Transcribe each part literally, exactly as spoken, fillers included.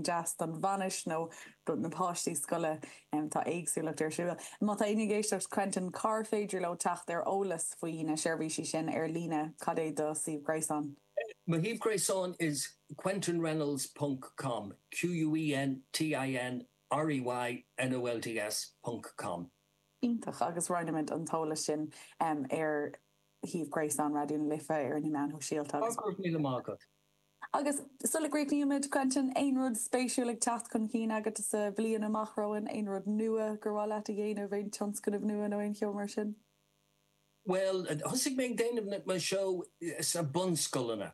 deas don bhainis nó do na páistí scoile um, tá éagsúlacht ar siúl. Má tá éinne ag éisteacht Quentin cár féidir leo teacht ar eolas faoi na seirbhísí sin ar líne cad é do shuíomh gréasáin. My shuíomh gréasáin is quentinreynolds.com Q U E N T I N R E Y N O L D S ponc com. Iontach agus roinnfimid an t-eolas sin um, ar shuíomh gréasáin Raidió na Life ar na meáin shóisialta. míle maith. Agus sula gcríochnaímid Quentin aon rud spéisiúil ag teacht chun cinn agat sa bhliain amach romhainn aon rud nua gur mhaith leat a dhéanamh aon tionscnamh nua nó aon cheo mar sin? Well, thosaigh mé déanamh mo seó sa bunscoileanna.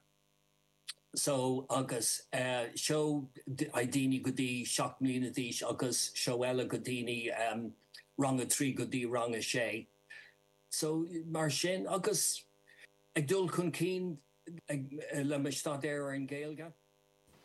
So agus uh, seó ag daoine go dtí seacht mbliana d'aois agus seó eile go daoine um, rang a trí go dtí rang a sé. So mar sin agus ag dul chun cinn le mo staidéar ar an Ghaeilge.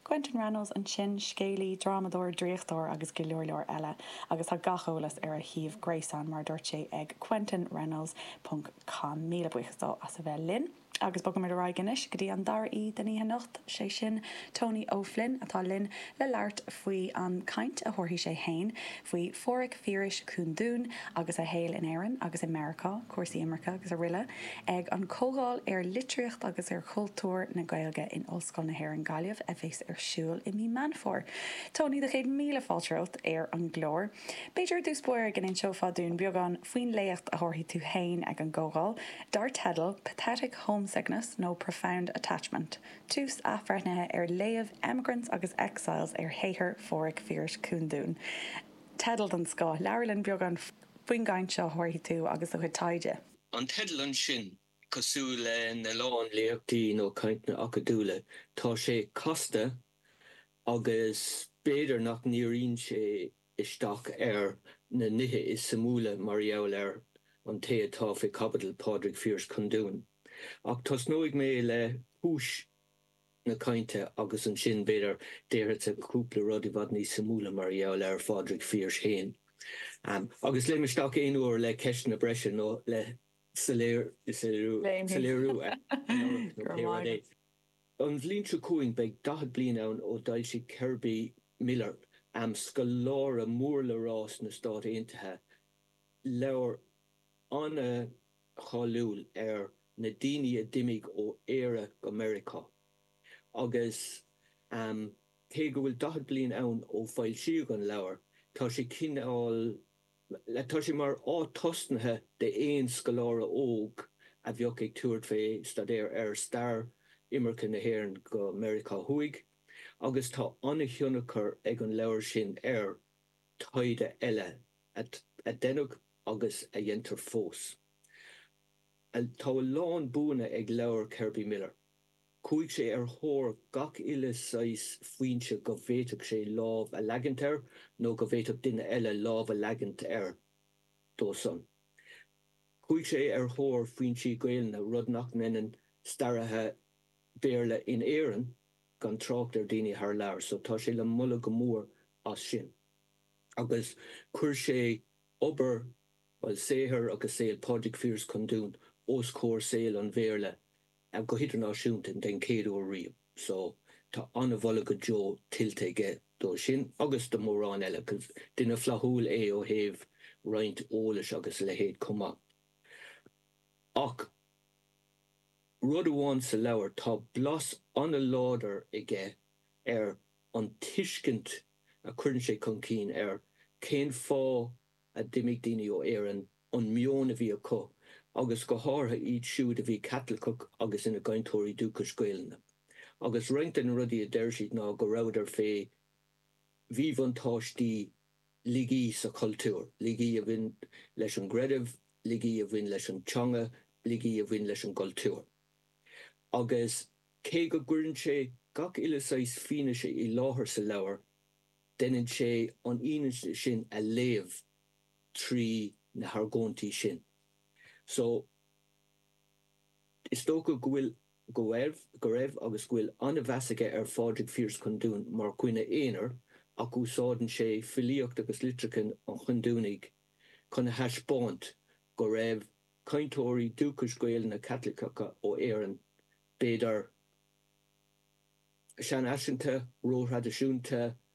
Quentin Reynolds ansin scéalaí drámadóir draíochtóir agus go leor leor eile, agus tá gach eolas ar a shuíomh gréasáin mar dúirt sé ag quentinreynolds.com míle buíochas dó as a bheith linn. Agus bogaimid ar aghaidh anois go dtí an dara haoi den oíche anocht sé sin Tony O'Flynn atá linn le labhairt faoi an caint a thabharfaidh sé féin faoi Phádhraic Phiarais Chundún agus a shaol in Éirinn agus i Meiriceá, cúrsaí imirce agus araile, ag an comhdháil ar litríocht agus ar chultúr na Gaeilge in Ollscoil na hÉireann Gaillimh a bheas ar siúl i mí Meán Fómhair. Tony do chéad míle fáilte romhat ar an gclár. B'fhéidir dtús báire go n-inseofá dúinn beagán faoin léacht a thabharfaidh tú féin ag an gcomhdháil, dar teideal Pathetic Homesickness nó Profound Attachment. Tús athbhreithnithe ar léamh emigrants agus exiles ar shaothar Phádhraic Phiarais Chundúin. Teideal den scoth labhair linn beagán faoin gcaint seo a thabharfaidh tú agus do chuid taighde. An teideal ansin cosúil le na lán léachtaí nó cainteanna acadúla, tá sé casta agus b'fhéidir nach ndíríonn sé isteach ar na nithe is suimiúla mar gheall ar an té atá faoi chaibidil Pádraig Phiarais Chundún. Ach tosnóidh mé le cúis na cainte agus ansin b'fhéidir déarfadsa cúpla rud i bhfad níos suimiúla mar gheall ar Phádraig Phiarais féin. Um, agus léim isteach aon uair le ceisteanna breise nó le soiléiriú. An bhliain seo chugainn beidh daichead bliain ann ó d'fhoilsigh Kerby Miller am scoláire mór le rá sna Stáit Aontaithe leabhar an-cháiliúil ar na daoine a d'imigh ó Éire go Meiriceá. Agus um, cé go bhfuil daichead bliain ann ó foilsíodh an leabhar, tá sé cineál tá sé mar áit tosnaithe d'aon scoláire óg a bheadh ag tabhairt fé staidéar ar stair imirce na hÉireann go Meiriceá Thuaidh, agus tá an-thionchar ag an leabhar sin ar taighde eile a deineadh agus a dhéantar fós. Tá a lán buanna ag leabhar Kerby Miller. Chuaigh sé ar thóir gach uile saghas foinse go bhféadfadh sé lámh a leagaint air nó go bhféadfadh duine eile lámh a leagaint air dó san. Chuaigh sé ar thóir foinsí Gaelainne rud nach ndéanann staraithe Béarla in Éirinn gan trácht ar daoine thar lear, so tá sé le moladh go mór as sin. Agus chuir sé obair well saothar agus saol Pádraig Phiarais Chundún os comhair saol an Bhéarla go hidirnáisiúnta den chéad uair riamh. So tá an-mholadh go deo tuillte aige dó sin agus do mórán eile, cos duine flaithiúil é ó thaobh roinnt eolais agus leithéid chomh maith. Ach rud amháin sa leabhar tá blas an-láidir aige ar an tuiscint a chuireann sé chun cinn ar cén fáth a d'imigh daoine ó Éirinn an meon a bhí acu agus go háirithe iad siúd a bhí Caitliceach agus ina gcainteoirí dúchais Gaelainne. Agus roinnt de na rudaí a deir siad ná go rabhadar fé mhíbhuntáistí laigí sa chultúr, laigí a bhain leis an gcreideamh, laigí a bhain leis an teanga, laigí a bhain leis an gcultúr. Agus cé go gcuireann sé gach uile saghas fianaise i láthair sa leabhar, déanann sé an fhianaise sin a léamh trí na hargóintí sin. So is dócha go bhfuil go raibh go raibh agus go bhfuil an-mheas aige ar Phádraig Phiarais Chundún mar dhuine aonair ach úsáideann sé filíocht agus litreacha an Chundúnaigh chun a thaispeáint go raibh cainteoirí dúchais Gaelainne Caitliceacha ó Éirinn b'fhéidir seanfhaiseanta, róthraidisiúnta,